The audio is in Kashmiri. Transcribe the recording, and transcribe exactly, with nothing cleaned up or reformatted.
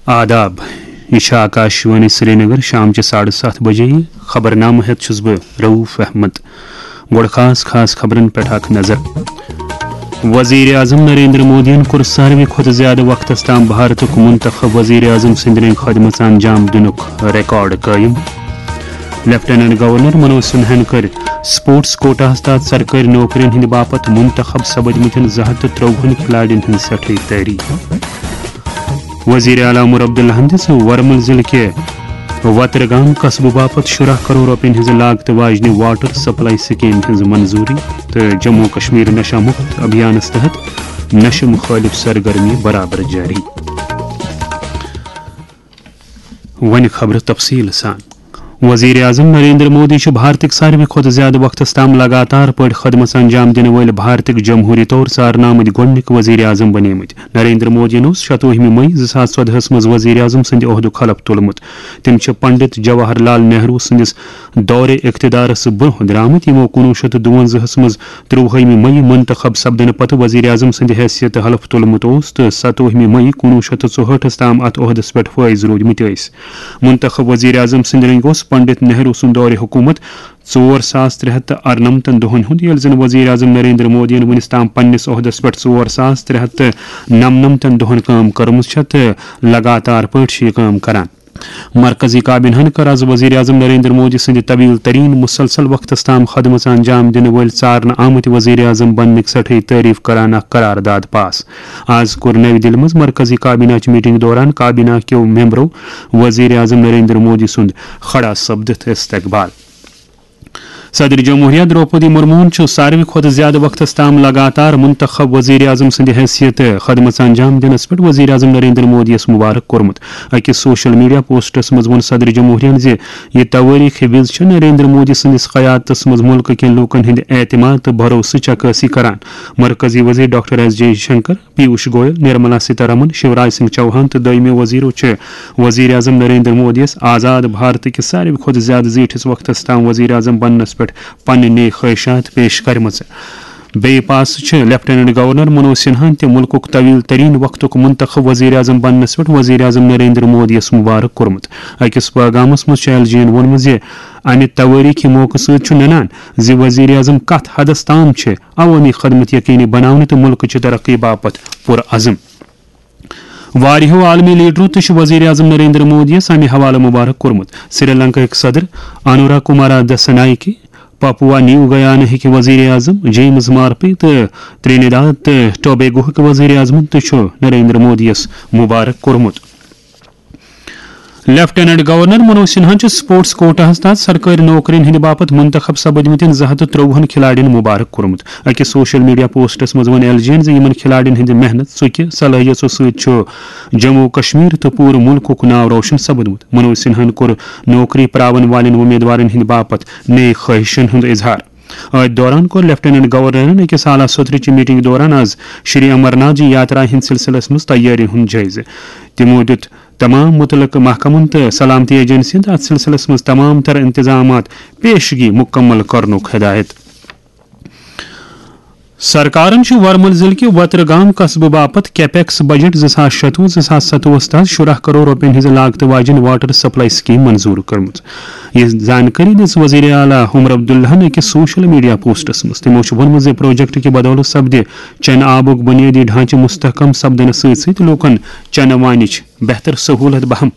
آداب، یہِ چھِ آکاشوانی سرینگر، شام چہِ ساڑٕ ستھ بجے۔ خبرنامہٕ ہٮ۪تھ چھُس بہٕ رؤف احمد۔ گۄڈٕ خاص خاص خبرن پٮ۪ٹھ اکھ نظر۔ وزیر اعظم نریندر مودیَن کوٚر ساروی کھۄتہٕ زیادٕ وقتس تام بھارتُک منتخب وزیر اعظم سٕنٛدِ رٔنگۍ خدمژ انجام دِنُک ریکارڈ قٲیِم۔ لیفٹیننٹ گورنر منوج سنہاہن کٔر سپورٹس کوٹاہس تحت سرکٲرۍ نوکرین ہٕنٛدِ باپتھ منتخب سپدمٕتٮ۪ن زٕ ہتھ تہٕ ترٛۆوُہن کھلاڑین ہٕنٛز سٮ۪ٹھٕے تعریف۔ وزیر اعلیٰ عمر عبداللہن دِژ ورمل ضلعہٕ کہِ وترگام قصبہٕ باپتھ شُراہ کرور رۄپین ہٕنٛزِ لاگتہٕ واجنہِ واٹر سپلائی سکیمہِ ہٕنٛز منظوٗری تہٕ جموں کشمیر نشہ مکت ابھیانس تحت نشہٕ مخٲلف سرگرمی برابر جٲری۔ وۄنۍ خبرٕ تفصیٖل سان۔ وزیر اعظم نریندر مودی چھِ بھارتٕکۍ ساروی کھۄتہٕ زیادٕ وقتس تام لگاتار پٲٹھۍ خدمژ انجام دِنہٕ وٲلۍ بھارتٕکۍ جمہوٗری طور ژارنہٕ آمٕتۍ گۄڈٕنِکۍ وزیر اعظم بنیمٕتۍ۔ نریندر مودیَن اوس شتوُہمہِ مئی زٕ ساس ژۄدہَس منٛز وزیر اعظم سٕنٛدِ عہدُک حلف تُلمُت۔ تِم چھِ پنڈت جواہر لال نہرو سٕنٛدِس دورِ اقتدارس برٛونٛہہ درٛامٕتۍ، یِمو کُنوُہ شیٚتھ تہٕ دُوَنزاہَس منٛز ترٛۆوُہمہِ مئی منتخب سپدنہٕ پتہٕ وزیر اعظم سٕنٛدِ حیثیت حلف تُلمُت اوس تہٕ ستووُہمہِ مئی کُنوُہ شیٚتھ تہٕ ژُہٲٹھَس تام اتھ عہدس پٮ۪ٹھ فٲیض روٗدمٕتۍ ٲسۍ۔ منتخب وزیر اعظم سٕنٛدِ رٔنگۍ اوس پنڈت نہرو سُنٛد دورِ حکوٗمت ژور ساس ترٛےٚ ہتھ تہٕ ارنمتن دۄہن ہُنٛد، ییٚلہِ زن وزیر اعظم نریندر مودیَن وُنِس تام پننِس عہدس پٮ۪ٹھ ژور ساس ترٛےٚ ہتھ تہٕ نمنمتن دۄہن کٲم کٔرمٕژ چھےٚ تہٕ لگاتار پٲٹھۍ چھِ یہِ کٲم کران۔ مرکزی کابینہن کٔر از وزیر اعظم نریندر مودی سٕنٛدِ طویل ترین مسلسل وقتس تام خدمژ انجام دِنہٕ وٲلۍ ژارنہٕ آمٕتۍ وزیر اعظم بننٕکۍ سٮ۪ٹھٕے تعریف کران اکھ قرارداد پاس۔ از کوٚر نَوِ دِلہِ منٛز مرکزی کابینہ چہِ میٹنگ دوران کابینہ کیو ممبرو وزیر اعظم نریندر مودی سُنٛد کھڑا سپدِتھ استقبال۔ صدر جمہوریہ درٛوپدی مرموہن چھُ ساروی کھۄتہٕ زیادٕ وقتس تام لگاتار منتخب وزیر اعظم سٕنٛدِ حیثیت خدمژ انجام دِنس پٮ۪ٹھ وزیر اعظم نریندر مودیَس مبارک کوٚرمُت۔ أکِس سوشل میڈیا پوسٹس منٛز ووٚن صدر جمہوریہن زِ یہِ توٲریخی وِز چھِ نریندر مودی سٕنٛدِس قیادتس منٛز مُلکہٕ کٮ۪ن لوٗکن ہٕنٛدِ اعتماد تہٕ بھروسٕچ عکٲسی کران۔ مرکزی وزیر doctor S Jaishankar, Piyush Goyal, Nirmala Sitharaman, Shivraj Singh Chouhan تہٕ دوٚیمہِ وزیرو چھِ وزیر اعظم نریندر مودیَس آزاد بھارت کِس ساروی کھۄتہٕ زیادٕ زیٖٹھِس وقتس تام وزیر اعظم بننس پٮ۪ٹھ پنٕنۍ نیک خواہشات پیش کرِمژٕ۔ بیٚیہِ پاسہٕ چھِ لیفٹیننٹ گورنر منوج سنہاہن تہِ مُلکُک طویل ترین وقتُک منتخب وزیر اعظم بننس پٮ۪ٹھ وزیر اعظم نریندر مودیَس مبارک کوٚرمُت۔ أکِس پیغامس منٛز چھُ ایل جی یَن ووٚنمُت زِ امہِ توٲریخی موقعہٕ سۭتۍ چھُ ننان زِ وزیر اعظم کتھ حدس تام چھِ عوٲمی خدمت یقینی بناونہٕ تہٕ مُلکٕچہِ ترقی باپتھ پُرعزم۔ واریاہو عالمی لیڈرو تہِ چھُ وزیر اعظم نریندر مودیَس امہِ حوالہٕ مبارک کوٚرمُت۔ سری لنکاہٕکۍ صدر انورا کمارا دسنائیکی، پاپوا نیو گیانہٕکۍ وزیر اعظم جیمز مارپے تہٕ ترینیداد تہٕ ٹوبیگوہٕکۍ وزیر اعظمن تہِ چھُ نریندر مودیَس مبارک کوٚرمُت۔ لیفٹیننٹ گورنر منوج سنہاہن چھُ سپورٹس کوٹاہس تحت سرکٲرۍ نوکرین ہٕنٛدِ باپتھ منتخب سپدمٕتٮ۪ن زٕ ہتھ تہٕ ترٛۆوُہن کھلاڑین مبارک کوٚرمُت۔ أکِس سوشل میڈیا پوسٹس منٛز ووٚن ایل جی یَن زِ یِمن کھلاڑین ہٕنٛدِ محنت، ژُکہِ، صلٲحیژو سۭتۍ چھُ جموں و کشمیر تہٕ پوٗرٕ مُلکُک ناو روشن سپدمُت۔ منوج سنہاہن کوٚر نوکری پراون والٮ۪ن وۄمیدوارن ہٕنٛدِ باپتھ نیک خواہشن ہُنٛد اظہار۔ أتھۍ دوران کوٚر لیفٹیننٹ گورنرن أکِس اعلیٰ سطرٕچہِ میٹنگ دوران از شری امرناتھ جی یاترا ہٕنٛدِ سلسلس منٛز تیٲرین ہُنٛد جٲیزٕ۔ تِمو دیُت تمام مُتعلقہٕ محکمن تہٕ سلامتی ایجنسین تہٕ اتھ سلسلس منٛز تمام تر انتظامات پیشگی مُکمل کرنُک ہدایت۔ سرکارن چھُ ورمل ضلعہٕ کہِ وترگام قصبہٕ باپتھ کیپیکس بجٹ زٕ ساس شتوُہ زٕ ساس ستوُہس تحت شُراہ کرور رۄپین ہٕنٛز لاگتہٕ واجیٚنۍ واٹر سپلائی سکیٖم منظوٗر کٔرمٕژ۔ یہِ زانکٲری دِژ وزیر اعلیٰ عمر عبداللہن أکِس سوشل میڈیا پوسٹس منٛز۔ تِمو چھُ ووٚنمُت زِ پروجیکٹ کہِ بدولہٕ سپدِ چنہٕ آبُک بُنیٲدی ڈھانچہٕ مستحکم سپدنہٕ سۭتۍ سۭتۍ لوٗکن چنہٕ وانِچ بہتر سہوٗلت بہم۔